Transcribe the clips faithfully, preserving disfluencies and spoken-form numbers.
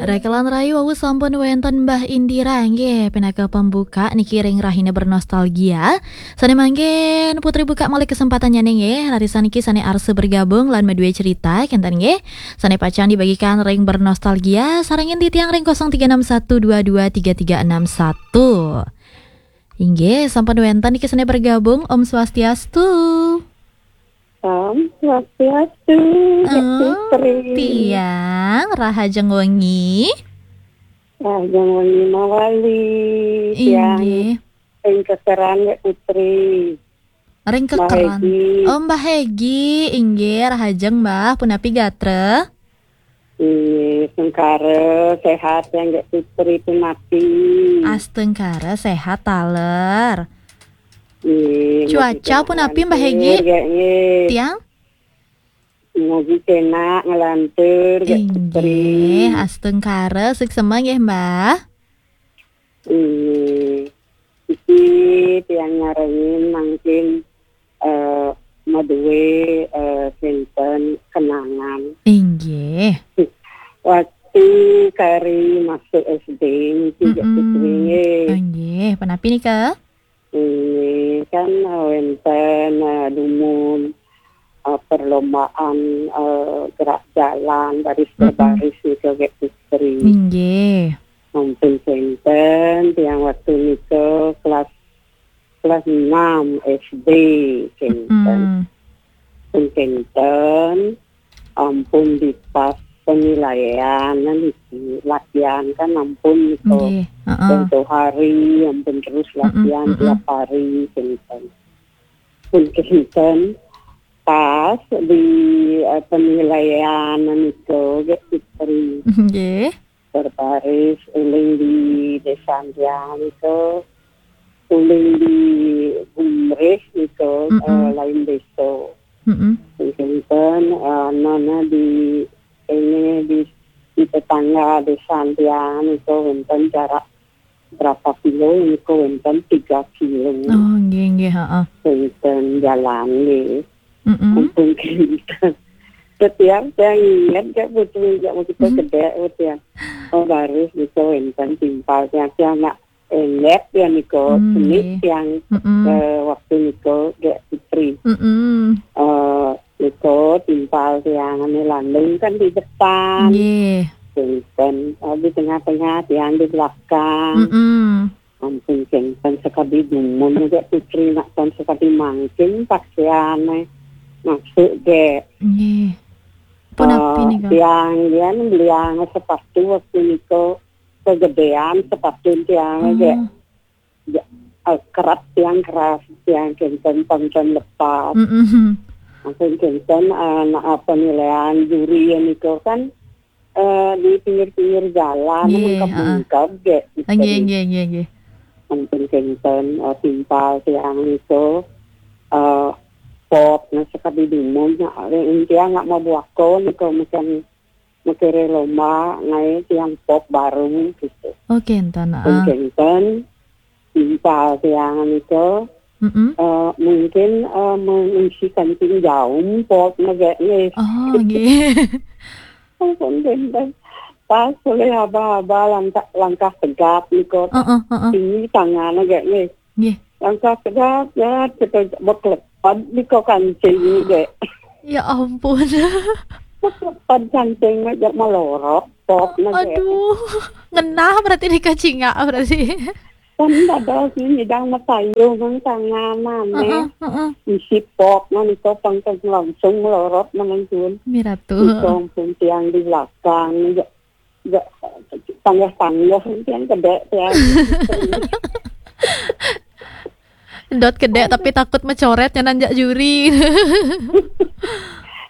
Rekelan rayu wau sampun wenten Mbah Indira nggih pinaka pembuka niki ring rahina bernostalgia. Sane mangkin Putri buka malih kesempatannya nggih. Raris niki sane arsa bergabung lan madue cerita kenten nggih. Sane pacang dibagikan ring bernostalgia sarengin titiang ring kosong tiga enam satu dua dua tiga tiga enam satu. Inggih, sampun wenten niki sane bergabung. Om Swastiastu. Om Swastiastu, Kak Oh, Putri. Tiang, rahajeng wengi. Rahajeng wengi mawali, tiang. Inggih. Ring kekeran, Kak Putri. Ring Mbah kekeran. Hegi. Oh, Mbah Hegi, inggih, rahajeng, Mbah. Punapi gatra? Inggih, sengkara, sehat, tiang, Kak Putri, punapi. Astengkara, sehat, taler. Nggih, cuaca mugi punapi, Mbah Hegi? Nggih, nggih. Tiang? Mugi kenak ngelantur, Kak Putri. Inggih, astengkara, suksema nggih, Mbah. Inggih. Iki tiang nyarengin mangkin, eh, madue, eh, sinten kenangan. Inggih. Waktu kari masuk S D niki, Kak Putri, nggih. Inggih, punapi nika? Ini kan, eh, wenten, eh, dumun, eh, perlombaan, eh, gerak jalan baris berbaris nika, Kak Putri. Inggih. Ampun kenten, tiang waktu nika kelas, kelas enam S D kenten. Ampun kenten, ampun dipas penilaian niki, latihan kan ampun nika. Nggih, heeh. Contoh hari, ampun terus latihan tiap hari, kenten. Pun kenten, pas di, eh, penilaian nika, Kak Putri. Nggih. Berbaris, uling di desa tiang nika, uling di Gumrih nika, eh, lain desa. Kenten, eh, nana di, ini di, di tetangga desa tiang nika wenten jarak berapa kilo nika wenten tiga kilo. Oh, nggih, nggih, heeh. Wenten jalan nggih. Ampun kenten. Setiap tiang inget, Kak Putri, jak kita kedek, tiang. Oh, baris nika wenten timpal tiang, tiang nak inget ya nika, seni nggih. Tiang, eh, waktu nika, Kak Putri. Eh, nika timpal tiang ane landung kan di depan. Nggih. Kenten, eh, di tengah-tengah, tiang di belakang. Ampun kenten, sakadi dumun, Kak Putri, nak pun sakadi mangkin pakaiane masuk, Kak. Nggih. Punapi nika? Eh, tiang, tiang beliang sepatu waktu nika kegedean sepatu tiang, Kak. Oh. Ya, eh, kerap tiang keras, tiang kenten pangken lepas. Ampun kenten, eh, nak, eh, penilaian juri ya nika kan, eh, di pinggir-pinggir jalan, nggih, mengkep-mengkep, Kak. Nggih, nggih, nggih, nggih. Ampun kenten, eh, timpal tiang nika, eh, pop, nah, sakadi dumun, nah, tiang nak mabuaka nika, macam makere lomba, ngae tiang pop baru, gitu. Oh, kenten, ah. Kenten, timpal tiang nika, eh, mungkin, eh, mengisi kancing jaum, pop, nggih, nggih. Oh, nggih. Ampun, kenten. Pas oleh aba-aba langkah, langkah tegap nika. Heeh, heeh. Tinggi tangan, nggih, nggih. Nggih. Langkah tegap, ya, kita beklepad nika kancing, nggih. Ya ampun. Beklepad kancing, jak melorot, pop, nggih. Aduh, ngenah berarti nika cingak berarti. Kan dados ni nyidang matayu nang tangan ane. Heeh, heeh. Isi pop nang nika pangkeng langsung melorot nang sun. Miratu. Nika ampun tiang di belakang, ja, ja, tangga-tangga tiang kedek tiang. Dot kedek tapi takut mecoret nyanan jak juri.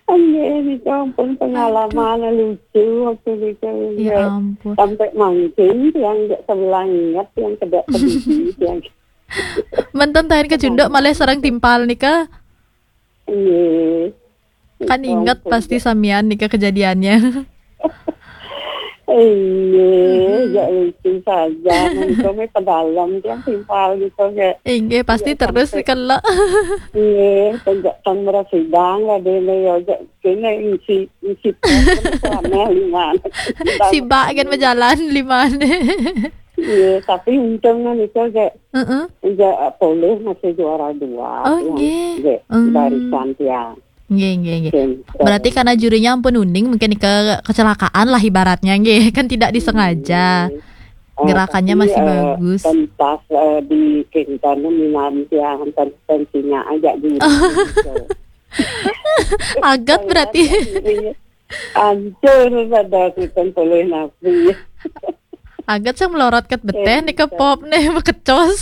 Nggih, nika ampun pengalaman lucu waktu nika. Ya ampun. Sampai mangkin tiang jak sebelah inget tiang kedek peduli tiang. Menten tahin kecunduk malih sareng timpal nika. Nggih. Kan inget pasti samian nika kejadiannya. Iya, jak lucu saja. Mungkin pedalam tiang timpal gitu, jak. Inggih, pasti terus sampai kena. Iya, tegak tambah sidang lah dia, ya, jak kena isi, isi pos, aneh lima. Sibak kan berjalan lima. Iya, tapi untungnya itu, jak, Heeh. Jak polih masih juara dua. Oh, nggih. Jak, hmm, barisan tiang. Nggih, nggih, nggih. Berarti karena jurinya ampun uning, mungkin ke kecelakaan lah ibaratnya, nggih. Kan tidak disengaja. Nggih. Eh, gerakannya tapi, masih eh, bagus. Pentas, eh, di Kentana minanti yang pen-, pentingnya aja di gitu. Agat berarti. Hancur pada aku kan polih napi. Agat saya melorot ket beteh nih ke pop nih, bekecos.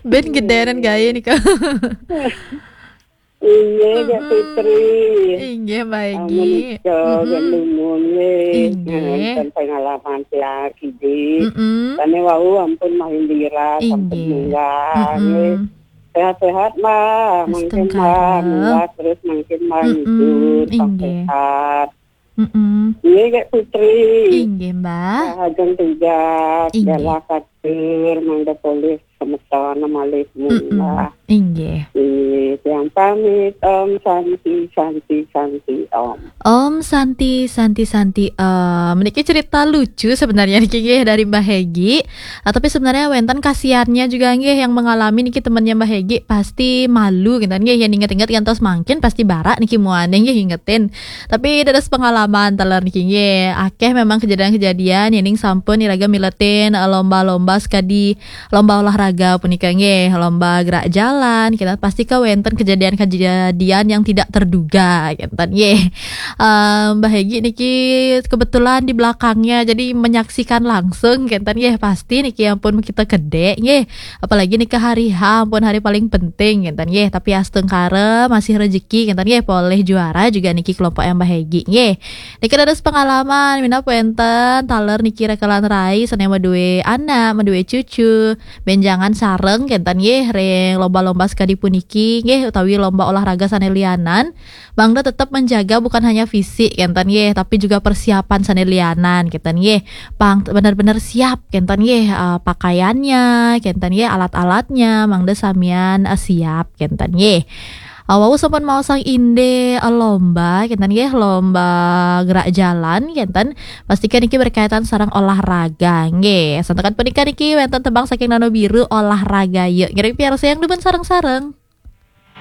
Ben gedenen gaya nih, Kak. Iya, Kak Fitri. Inggih, Mbak Egi. Menika, mm-mm, Kak Lumun, nggih. Inggih. Nah, pengalaman saya kidi. Mm-mm. Tane wau ampun main dira, sampun, inggih, munggah, mm-mm, nggih. Sehat-sehat, Mbak. Mangkin, Mbak, astungkara. Munggah terus mangkin, Mbak, mm-mm, ngidur, inggih, sehat. Mm-mm. Nggih, Kak Putri. Inggih, Mbak. Rahajeng tugas, inggih, dalah katur, mangda polih semeton malih, mm-mm, munggah. Inggih. Nggih, tiang pamit. Om Santi, Santi, Santi, Om. Om Santi, Santi, Santi, Om. Niki cerita lucu sebenarnya niki, nggih, dari Mbak Hegi. Ah, tapi sebenarnya wenten kasihannya juga, nggih, yang mengalami niki temennya Mbak Hegi pasti malu, gitu, nggih, yang inget-inget yang terus mangkin pasti barak niki muane, nggih, ingetin. Tapi dados pengalaman taler niki, nggih. Akeh memang kejadian-kejadian yen ning sampun iraga miletin, eh, lomba-lomba sekadi lomba olahraga punika, nggih, lomba gerak jalan, kita pasti ke wenten kejadian-kejadian yang tidak terduga, gitu, nggih. Eh, Mbak Hegi niki kebetulan di belakangnya, jadi menyaksikan langsung, gitu, nggih. Pasti niki ampun kita gede, nggih. Apalagi niki hari H, ampun hari paling penting, gitu, nggih. Tapi astungkara masih rezeki, gitu, nggih. Polih juara juga niki kelompok yang Mbak Hegi, nggih. Niki dados pengalaman, minab wenten taler niki rekelan rai, sane madue anak, madue cucu, benjangan sareng, kenten, nggih, ring lomba-lomba sekadi puniki, nggih, utawi lomba olahraga sane lianan. Mangda tetep menjaga bukan hanya fisik, kenten, nggih, tapi juga persiapan sane lianan, kenten, nggih. Pang bener-bener siap, kenten, nggih, eh, pakaiannya, kenten, nggih, alat-alatnya, mangda samian, eh, siap, kenten, nggih. Eh, wau sampun maosang inde, eh, lomba, kenten, nggih, lomba gerak jalan, kenten. Pastikan niki berkaitan sareng olahraga, nggih. Santukan punika niki wenten tembang saking Nano Biru, Olahraga Yuk. Ngiring piarsayang dumun sareng-sareng.